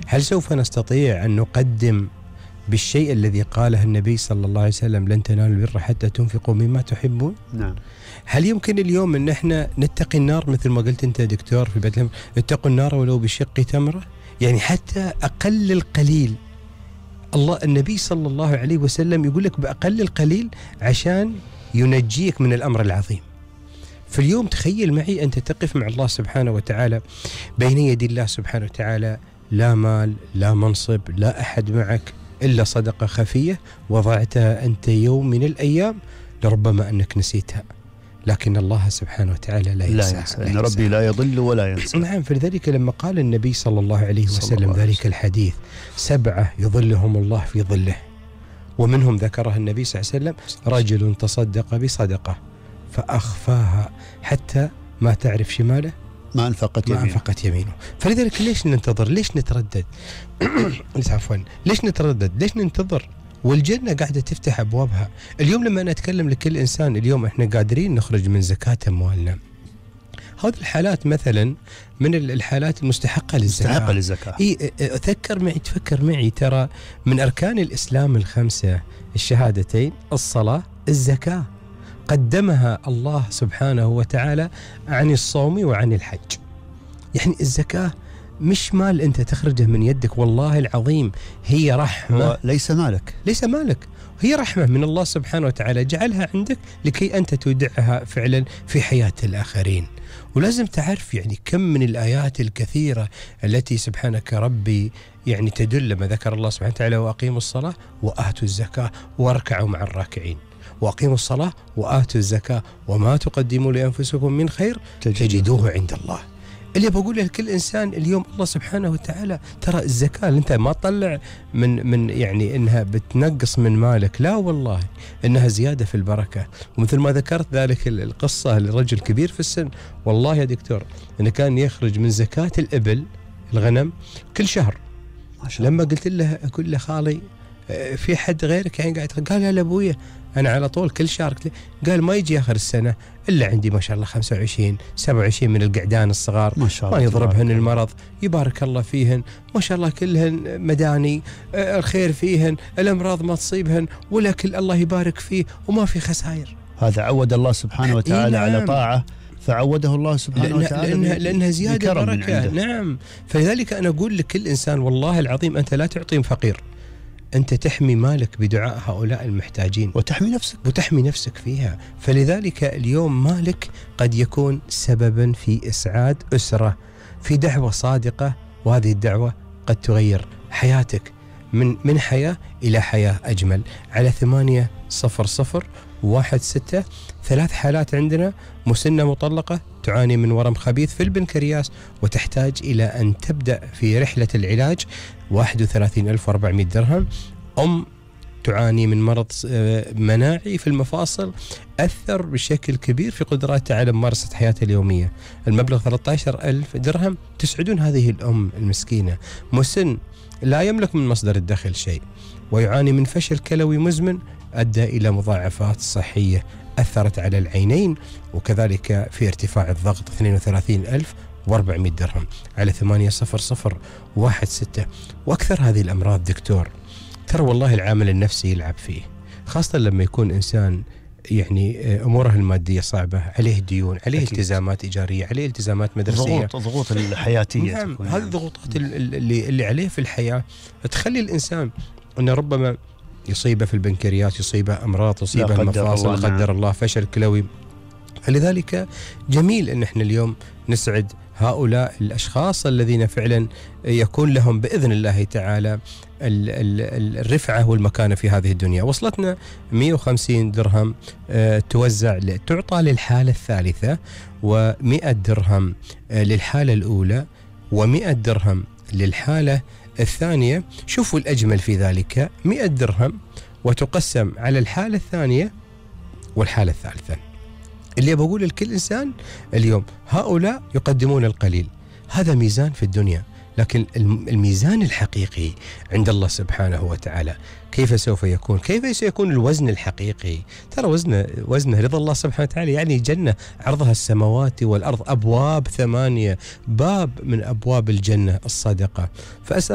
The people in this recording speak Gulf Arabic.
هل سوف نستطيع أن نقدم بالشيء الذي قاله النبي صلى الله عليه وسلم لن تنالوا البر حتى تنفقوا مما تحبون؟ نعم. هل يمكن اليوم أن احنا نتقي النار مثل ما قلت أنت دكتور في بيت اتقوا النار ولو بشق تمرة؟ يعني حتى أقل القليل النبي صلى الله عليه وسلم يقول لك بأقل القليل عشان ينجيك من الأمر العظيم. فاليوم تخيل معي أنت تقف مع الله سبحانه وتعالى بين يدي الله سبحانه وتعالى، لا مال لا منصب لا أحد معك إلا صدقة خفية وضعتها أنت يوم من الأيام لربما أنك نسيتها، لكن الله سبحانه وتعالى لا ينسى. إن ربي لا يضل ولا ينسى. نعم. فلذلك لما قال النبي صلى الله عليه وسلم ذلك الحديث 7 يظلهم الله في ظله، ومنهم ذكرها النبي صلى الله عليه وسلم رجل تصدق بصدقة فأخفاها حتى ما تعرف شماله ما أنفقت يمينه. فلذلك ليش ننتظر؟ ليش نتردد؟ ليش نتردد؟ ليش ننتظر؟ والجنة قاعدة تفتح أبوابها. اليوم لما أنا أتكلم لكل إنسان اليوم إحنا قادرين نخرج من زكاة أموالنا، هذه الحالات مثلا من الحالات المستحقة للزكاة. تفكر معي ترى من أركان الإسلام 5 الشهادتين، الصلاة، الزكاة، قدمها الله سبحانه وتعالى عن الصوم وعن الحج. يعني الزكاة مش مال أنت تخرجه من يدك، والله العظيم هي رحمة. ليس مالك، هي رحمة من الله سبحانه وتعالى جعلها عندك لكي أنت تودعها فعلا في حياة الآخرين. ولازم تعرف يعني كم من الآيات الكثيرة التي سبحانك ربي يعني تدل لما ذكر الله سبحانه وتعالى وأقيموا الصلاة وآتوا الزكاة واركعوا مع الراكعين. وأقيموا الصلاة وآتوا الزكاة وما تقدموا لأنفسكم من خير تجدوه عند الله. اللي بقول لكل إنسان اليوم الله سبحانه وتعالى ترى الزكاة اللي أنت ما تطلع من يعني إنها بتنقص من مالك، لا والله إنها زيادة في البركة. ومثل ما ذكرت ذلك القصة لرجل كبير في السن، والله يا دكتور إنه كان يخرج من زكاة الإبل الغنم كل شهر. لما قلت له أقول له خالي في حد غيرك يعني قاعد؟ قال لا أبويا أنا على طول كل شهر. قال ما يجي آخر السنة إلا عندي ما شاء الله 25 27 من القعدان الصغار ما يضربهن المرض، يبارك الله فيهن، ما شاء الله كلهن مداني، الخير فيهن، الأمراض ما تصيبهن، ولا كل الله يبارك فيه وما في خسائر. هذا عود الله سبحانه وتعالى على طاعة، فعوده الله سبحانه وتعالى لأنها زيادة بركة. نعم. فلذلك أنا أقول لكل إنسان والله العظيم أنت لا تعطي فقير، أنت تحمي مالك بدعاء هؤلاء المحتاجين وتحمي نفسك فيها. فلذلك اليوم مالك قد يكون سببا في إسعاد أسرة، في دعوة صادقة، وهذه الدعوة قد تغير حياتك من حياة إلى حياة أجمل. على 80016 3 حالات عندنا: مسنة مطلقة تعاني من ورم خبيث في البنكرياس وتحتاج إلى أن تبدأ في رحلة العلاج 31,400 درهم. تعاني من مرض مناعي في المفاصل أثر بشكل كبير في قدراتها على ممارسة حياتها اليومية، المبلغ 13,000 درهم. تسعدون هذه الأم المسكينة. مسن لا يملك من مصدر الدخل شيء ويعاني من فشل كلوي مزمن أدى إلى مضاعفات صحية أثرت على العينين، وكذلك في ارتفاع الضغط 32,400 درهم. على 80016. وأكثر هذه الأمراض دكتور ترى والله العامل النفسي يلعب فيه، خاصة لما يكون إنسان يعني أموره المادية صعبة، عليه ديون، عليه التزامات إيجارية، عليه التزامات مدرسية، ضغوط الحياتية. نعم. هذه الضغوطات اللي عليه في الحياة تخلي الإنسان أنه ربما يصيبه في البنكرياس، يصيبه أمراض، يصيبه المفاصل، لا قدر الله فشل كلوي. فلذلك جميل أن احنا اليوم نسعد هؤلاء الأشخاص الذين فعلا يكون لهم بإذن الله تعالى الرفعة والمكانة في هذه الدنيا. وصلتنا 150 درهم تعطى للحالة الثالثة، و100 درهم للحالة الأولى، و100 درهم للحالة الثانية. شوفوا الأجمل في ذلك 100 درهم وتقسم على الحالة الثانية والحالة الثالثة. اللي بقول لكل إنسان اليوم هؤلاء يقدمون القليل، هذا ميزان في الدنيا، لكن الميزان الحقيقي عند الله سبحانه وتعالى كيف سوف يكون؟ كيف سيكون الوزن الحقيقي؟ ترى وزنه رضا الله سبحانه وتعالى، يعني جنة عرضها السماوات والأرض، أبواب 8 باب من أبواب الجنة الصدقة. فأسأل